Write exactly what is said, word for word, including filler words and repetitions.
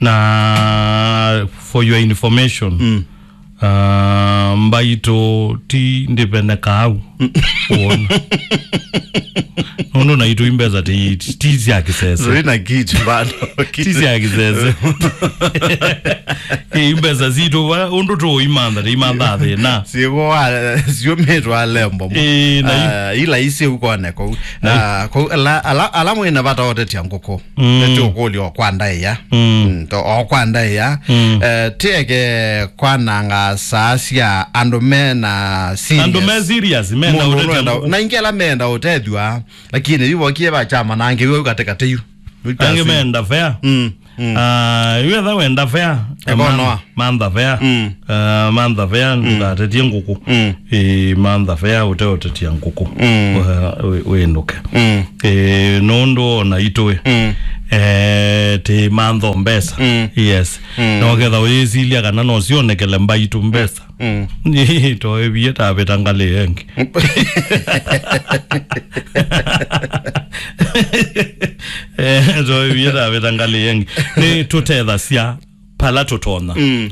Na for your information, mm. Ah, mbaitũ ti ndĩveneka au. Wona. Nũndũ naitũ imbesa ti, ti sya kĩsese. Zina kitu bado. Ti sya kĩsese. Ĩ, imbesa sitũ, va, ũndũ tũimantha, tũimantha thĩna. Siwo, siũmĩtwa lembo. Ĩ, na i- Ah, ila isi ukoneka. Na, kau, ala, ala, ala mwĩna vata ũtetia ngũkũ. Mm. Nĩtũkũlyo kwa ndaĩa. Mm. Mm, to, o kwa ndaĩa. Mm. Eh, tieke kwananga saa sya andũ me na serious. Andũ me serious, menda Mũndũ ũtethya nũenda, ngũkũ. Na ingĩ ala menda ũtethwa, lakini yu vokie va chama na angĩ yu katikati yu. Angĩ menda fair. Mm, mm. Ah, yu etha wenda fair. Ekonoa. Mantha fair. Mm. Ah, mantha fair, ndũkatetie ngũkũ. Mm. Ĩ, mantha fair, ũteũtetia ngũkũ. Mm. Wĩ-, wĩ-, wĩnũke. Mm. Ĩ, nũndũ ona itũĩ. Mm. Eh, ti mantho mbesa. Mm. Yes. Mm. No ketha ũyĩsilya kana no sionekele mbaitũ mbesa. Mm. Nĩ, toevie tavĩta ngalĩ yengi. Eh, toevie tavĩta ngalĩ yengi. Nĩ tũtethasya pala tũtonya. Mm.